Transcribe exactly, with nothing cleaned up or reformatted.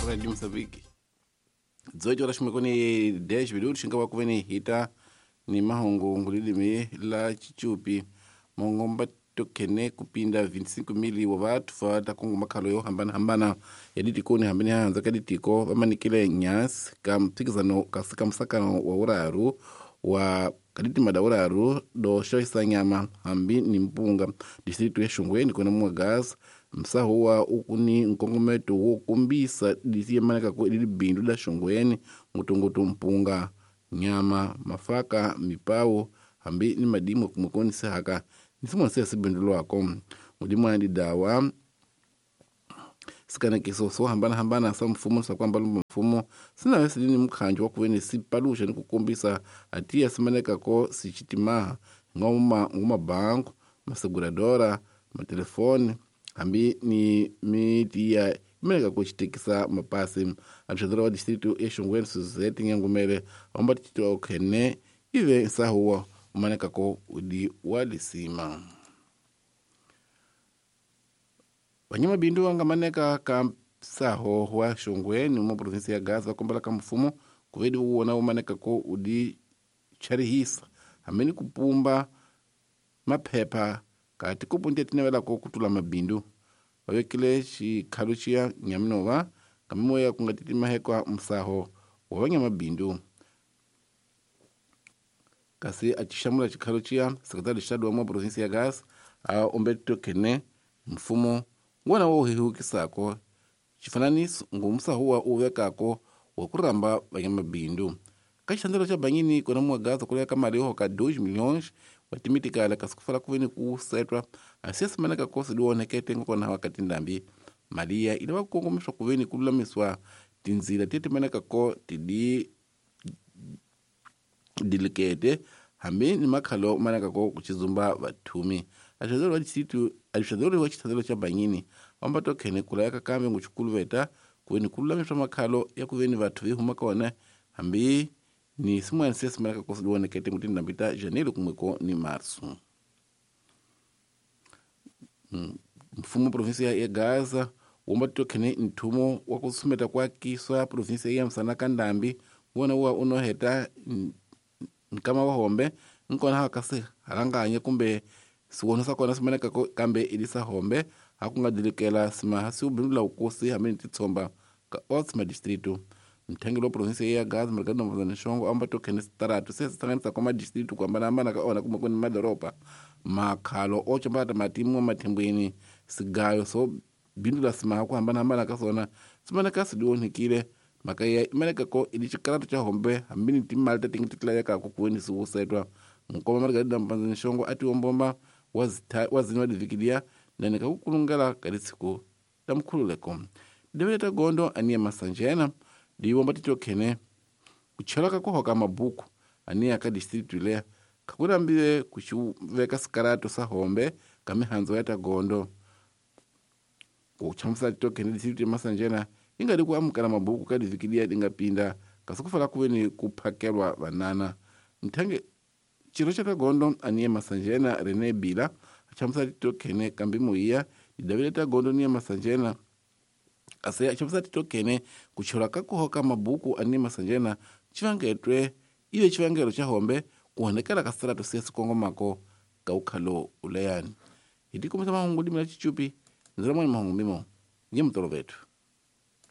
Radio Mozambique. dezoito horas kumi dez minutos xinga wa kuveni hita ni mahungu ngulilimi la chichupi mongomba tokene kupinda vinte e cinco mil wa vathu va ta kungu makhalo yo hambanahambana ya ditikoni hambeni hanza ka ditiko va manikile nyasi ka mphikizano kasi ka musakano wa uraru wa kaditima uraru do xavisa nyama hambi ni mpunga distrito ya Xongweni kona Mwagaza msaho wa ukuni nkongometo wo kombisa disiyemaneka ku libindu la Xongweni ngutungutu mpunga nyama mafaka mipawo hambi ni madimu kumukoni sehaka nisimona se sibindu lwako mudimu andi dawa sikanekiso so hambana hambana sa mfumo sa kwamba lumba mfumo sina wesi dini mkhanjo wa kuveni sipalusha ni kukombisa atiya simaneka ko sichitimaha ngoma ngoma banko maseguradora matelefoni hambi ni mitiya imeneka kuchitekisa mapasi administradora wa distrito ya Xongweni Suzette Nyangumele omba titwa okhene ive nsahuwa umaneka ko udi walisima Wanyama bindu wangamaneka ka msaho wa Xongweni mu provinsi ya Gaza kombela ka mfumo kuvedi uwona umaneka ko udi charihisa hameni kupumba maphepha kati kupunde tinavela ko kutula mabindu vavekile xikhalo xiya nyaminova kamimoya kunga titimahekwa msaho wa vanyama bindu kasi acixamula xikhalo xiya sekretari xitado wa mu provinsi ya Gaza a ombeto kene mfumo ngwana wo hihukisako xifananiso ngumsaho wa uvekako wa kuramba vanyamabindu ka xitandelo xa banyini kona Mwagaza kuleka ka mali yo ka dois milhões wa timitikala kasi kufala kuveni ku setwa asiya simaneka kosi dionekete ngokona wakati ndambi maliya ina vakukongomiswa kuveni kululamiswa tinzila tetimaneka ko tidi dilikete hambi ni makhalo maneka ko kuchizumba vathumi administrador wa distrito administrador wa xitandelo xa banyini vamba tokhene kulayaka kambe nguchikuluveta kuveni kululamiswa makhalo ya kuveni vathu vi huma kona hambi ni simwana se simaneka kosi dionekete ngutindambi ta janeiro kumweko ni março. Mfumo provinsia ya Gaza womba tokhene nthumo wa kusumeta kwa kiswa provinsia ya Msanaka ndambi wona wa unoheta nkama wa hombe nkona hakase halanganye kumbe siwono sakona simaneka kambe ilisa hombe hakunga dilikela simaha siubindula ukosi hamene titsomba ka otsma distrito mthengelo wa provinsia ya Gaza marikana mvazana xongo amba tokhene sitaratu se sihlanganisa kwa madistrito kuhambanahambana ka ona kumwe kuni madoropa makhalo ochombata matimu mathembweni sigayo so bindula simaha kuhambanahambana ka sona simaneka sidionhikile mhaka ya imaneka ko ili xikaratu xa hombe hambi ni timali ta tingi titlayekaka kuweni siwusetwa nkoma margarida mpanzani xongo a tiwombomba wa zini wa divikilia nani ka kukulungela ka litsiko ta mkhululeko devele ta gondo aniya masanjena diwomba titokhene kuchela ka kuhoka mabuku aniya ka distrito leya kakurambiwe kuxiveka sikarato sa hombe ka mihandzo ya ta gondo kuchamusa titokhene distrito ya masanjena ingadi ku amukela mabuku ka divikilia dingapinda kasi kufala kuveni kuphakelwa vanana nthange xirho xa tagondo aniye masanjena Rene Bila achamusa titokhene kambi muiya didavile tagondo niye masanjena kasi achamusa titokhene kuchelwa ka kuhoka mabuku aniye masanjena xivangetwe ive xivangelo xa hombe kuhonekela ka sirato siya sikongomako ka ukhalo uleyani hi tikomisa mahungu dimela chichupi ndzela mwani mahungu mimo nye mutolovethu.